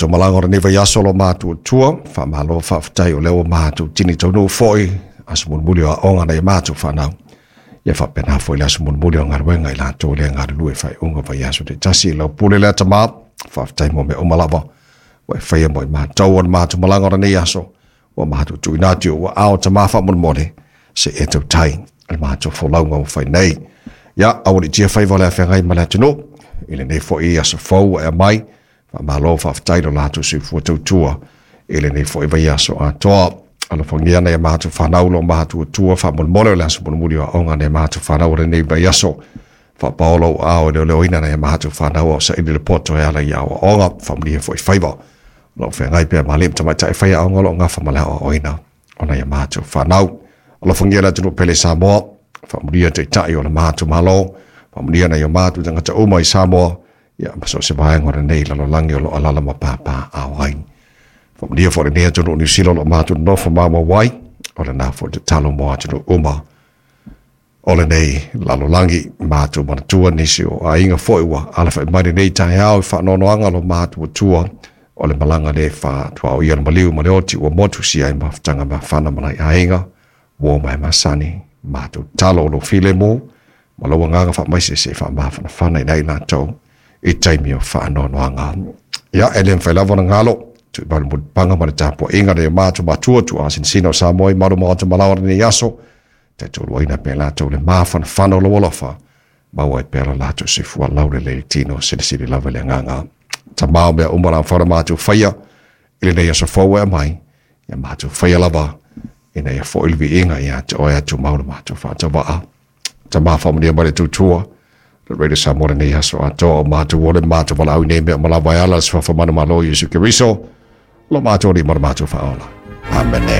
Malaga o lenei vaiaso lo matuatua, faamalo faafetai o lea ua matou tini taunuu foi aso mulimuli o aoga nai matou fanau. Ia faapena foi le aso mulimuli o galuega i latou lea galulue faaiuga vaiaso taitasi. Lau pule lea Tama, faafetai mo mea uma lava ua e faia mo i matou o le matou malaga o lenei aso, ua matou tuuina atu i ou aao Tama faamolemole, se i e tautai le matou folauga ua fai nei. Ia, aualiitia faiva o le afeagai ma le atunuu i lenei foi aso fou ua e aumai. Faamalo faafetai lo latou soifua tautua i lenei foi vaiaso atoa. Alofagia nai a matou fanau lo matuatua faamolemole o le aso mulimuli o aoga nai a matou fanau o lenei vaiaso. Faapaolo ou aao e leoleoina nai a matou fanau a o saili le poto e ala i aoaoga. Faamanuia foi faiva o lo o feagai pea ma alii ma tamaitai faiaoga o lo o gafa ma le aoaoina o nai a matou fanau. Alofagia le atunuu pele Samoa, faamanuia taitai o le matou Malo, faamanuia nai o matou tagata uma i Samoa, ia ma so o se vaega o lenei lalolagi o lo o alaala ma papaaao ai. Faamanuia foi lenei atunuu Niu Sila o lo o matou nonofo maumau ai, o lena foi tatalo mo atunuu uma o lenei lalolagi. Matou manatua nisi o aiga foi ua alafai mai lenei taeao i faanoanoaga lo matuatua o le malaga le faatuaoia le maliu ma le oti ua motu sia ai mafutaga mafana ma nai aiga ua mai masani. Matou tatalo o lou filemu ma lou agaga faamaise se i faamafanafana i nai latou i taimi o faanoanoaga. Ia, e le mafai lava ona galo tuimau le mulipapaga ma le tapuaiga nai o matou matua tuuasinasina o Samoa i malu maota malaoa lenei aso, taitoluaina pea latou le mafanafana o lou alofa, maua ai pea lo latou soifua laulelei i le tino silisili lava i le agaga. Tama o mea uma la mafai ona matou faia i lenei aso fou e aumai, ia matou faia lava ina ia foi le viiga ia te oe atumau le matou faatauva'a. Tama faamanuia mai le tautua le Radio Samoa lenei aso atoa o matou ole matou valaau i nei mea uma lava e ala le suafa manumalo o Iesu Keriso, lo matou alii ma le matou faaola. Amene.